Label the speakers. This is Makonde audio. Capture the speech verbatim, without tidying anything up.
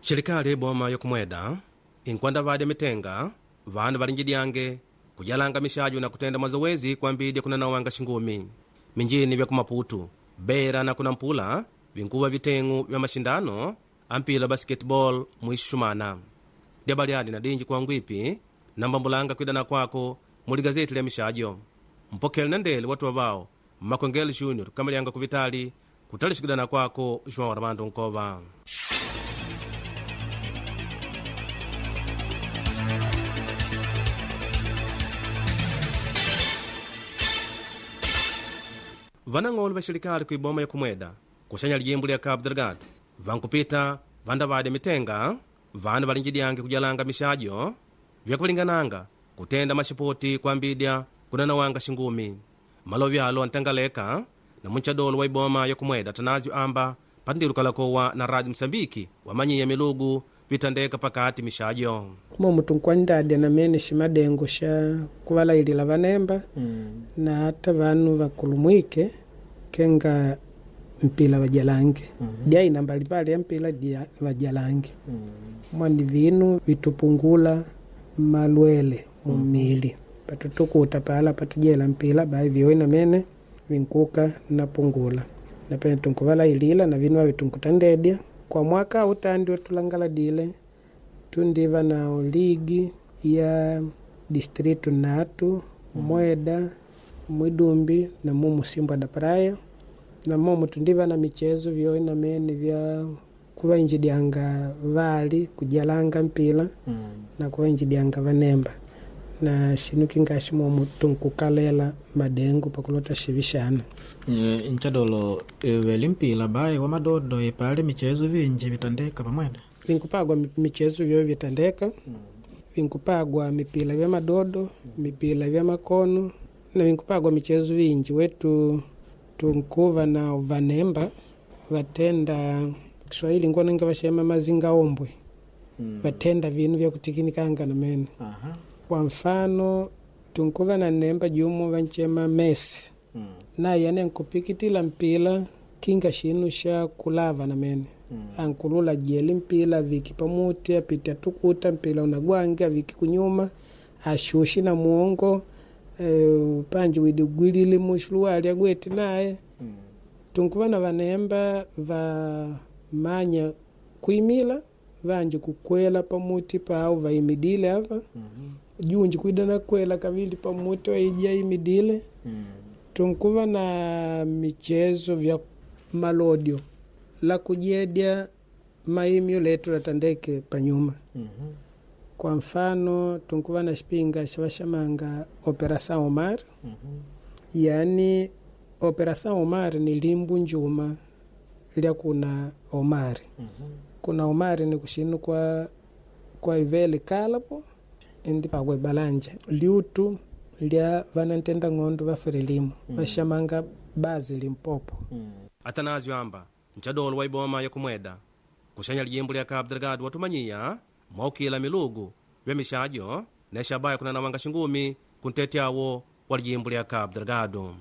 Speaker 1: Serikali iboma yokumweda inkwanda vadya mitenga vanu valinjidyange kujalanga mixajo na kutenda mazowezi kwambidya kunanawanga xingumi minjini vya kumaputu beira na kunampula vinkuva viteng'u vya maxindano ampila basketball muixumana dyabalyadi na dinji kuangwipi nambambulanga kwidana kwako muli gazeti lya mixajo mpokele na ndele watu wavao mmakwengele junior kamalyanga kuvitali kutalixikidana kwako joão armando nkova. Vanang'olo va xirikali ku iboma ya kumweda kuxanya lijimbu lya Cabo Delgado vankupita vandavadya mitenga vanu valinjidyange kujalanga mixajo vyakulingananga kutenda maxipoti kwambidya kunanawanga xingumi malovi alo antangaleka na munchadolo wa iboma ya kumweda Tanazio amba patindilukalakowa na Radio Msambiki wamanyiya milugu vitandeka pakati mixajo
Speaker 2: momu tunkwandadya namene ximadengo xa kuvalayilila vanemba mm. na ata vanu vakulumwike kenga mpila vajalange mm -hmm. dyaina mbalimbali ya mpila dia vajalange mm. mwani vinu vitupungula malwele mumili mm. patutukuta pala patujela mpila bai vyoe namene vinkuka napungula napene tunkuvalayilila na vinu avi tunkutandedya kwa mwaka utandi tulangaladile tundiva na ligi ya distritu natu mweda mwidumbi na mumu simbwa da praia na momu tundiva na michezo vyoe namene vya kuvainjidyanga vali kujalanga mpila mm. na kuvainjidyanga vanemba na xinu kingaxi momu tunkukalela madengo pakulota xivixana
Speaker 3: nchadolo veli mpila bai wa madodo ipali michezo vinji vitandeka pamwene
Speaker 2: vinkupagwa michezo vyoe vitandeka mm. vinkupagwa mipila vya madodo mm. mipila vya makono na vinkupagwa michezo vinji wetu tunkuva na vanemba vatenda Kiswahili ngonanga vaxema mazinga ombwe mm. vatenda vinu vya kutikinikanga namene uh-huh. Kwa mfano tunkuva na nemba jumu vanchema Messi mm. naye ane nkupikitila mpila kinga xinu xa kulava namene mm. ankulula jeli mpila viki pamuti apiti atukuta mpila unagwange aviki kunyuma axuxi na muongo e, panji widi gwilile muxuluwali agweti naye mm. tunkuva na vanemba va manya kuimila vanji kukwela pamuti pau vaimidile apa mm -hmm. junji kwida na kwela kavili pamuti waija imidile mm. tunkuva na michezo vya malodio la kujedya maimyo letu latandeke panyuma mm -hmm. Kwa mfano tunkuva na xipinga xa vaxamanga Operação Omar mm -hmm. Yani Operação Omar ni limbu njuma lya kuna Omari mm -hmm. Kuna Omari ni kuxinu kwa kwa ivele kalapo indi pakwe balanja liutu lya vanantenda ng'ondo va Frelimo mm. vaxamanga bazi Limpopo
Speaker 1: mm. Atanazio amba nchadolo wa iboma ya kumweda kuxanya lijimbu lya Cabo Delgado watumanyiya mwaukila milugu vya mixajo na xabaya kunanawanga xingumi kuntete awo wa lijimbu lya Cabo Delgado.